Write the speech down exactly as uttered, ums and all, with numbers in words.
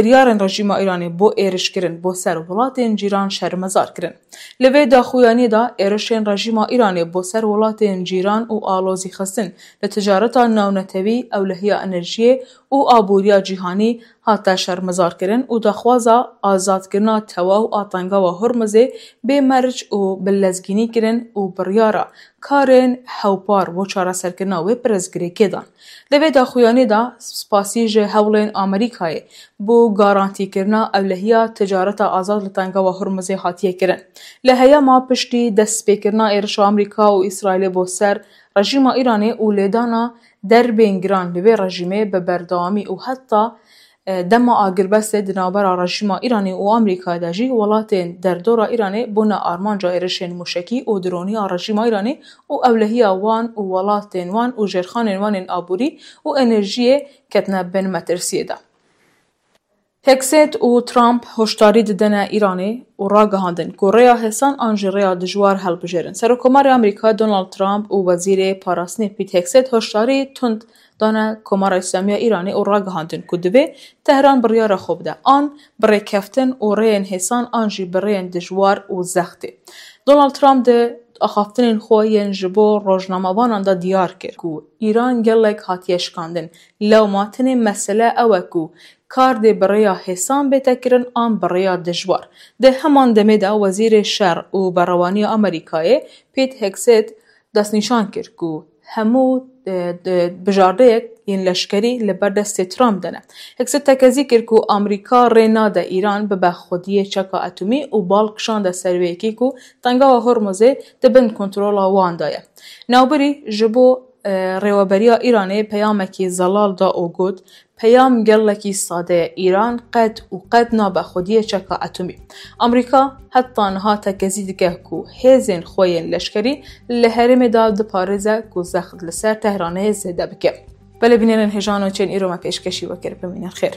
Biryarên rejîma Îranê bo êrişkirin bo ser welatên cîran şermezar kirin. Li vê daxuyaniyê de êrişên rejîma Îranê bo ser welatên cîran û alozî xistin li ticareta navnetewî, ewlehiya enerjiyê û aboriya cîhanî hate şermezarkirin û daxwaza azadkirina tewaw a Tengawa Hormuzê bê merc û bi lezgînî kirin û biryara karên hewpar bo çareserkirina wê pirsgirêkê dan. Di vê daxuyanî de spasî ji hewlên Amerîkayê bo garantîkirina ewlehiya ticareta azad li Tengawa Hormuzê hatiye kirin. Li heyama piştî destpêkirina êrişa Amerîka û Îsraîlê bo ser rejîma Îranê û lêdana derbên giran li vê rejîmê bi berdewamî û heta, e, dema agirbestê di navbera rejîma Îranê û Amerîkayê de jî welatên derdora Îranê bûne armanca êrişên mûşekî û dronî a rejîma Îranê û ewlehiya wan û welatên wan û jêrxanên wan ên aborî û enerjiyê ketine bin metirsiyê de. Hegseth û Trump hoşdarî didine Îranê û ragihandin ku rêya hêsan an jî rêya dijwar hilbijêrin. Serokkomarê Amerîka Donald Trump û Wezîrê Parastinê Pete Hegseth hoşdarî tund dane Komara Îslamî ya Îranê û ragihandin ku divê Tehran biryara xwe bide an bi rêkeftin û rêyên hêsan an jî bi rêyên dijwar û zextê. Donald Trump di axaftinên xwe yên ji bo rojnamevanan de diyar kir ku Îran gelek hatiye şikandin, lewma tenê mesele ew e ku kar dê bi rêya hêsan bête kirin an bi rêya dijwar. Di heman demê de Wezîrê Şer û Berewaniya Amerîkayê Pete Hegseth destnîşan kir ku hemû, e, e, bijardeyek yên leşkerî li ber destê Trump de ne. Hegseth tekezî kir ku Amerîka rê nade Îran bibe xwediyê çeka etomî û bal kişande ser wê yekê ku Tengawa Hormuzê di bin kontrola wan de ye. Navbirî ji bo, e, rêweberiya Îranê peyamekî zelal da û got, peyam gelekî sade ye, Îran qet û qet nabe xwediyê çeka etomî. Amerîka heta niha tekezî dike ku hêzên xwe yên leşkerî li herêmê de diparêze ku zext li ser Tehranê zêde bike. Belê bînerên hêja nûçeyên îro me pêşkêşî we kir, bimînin xêr.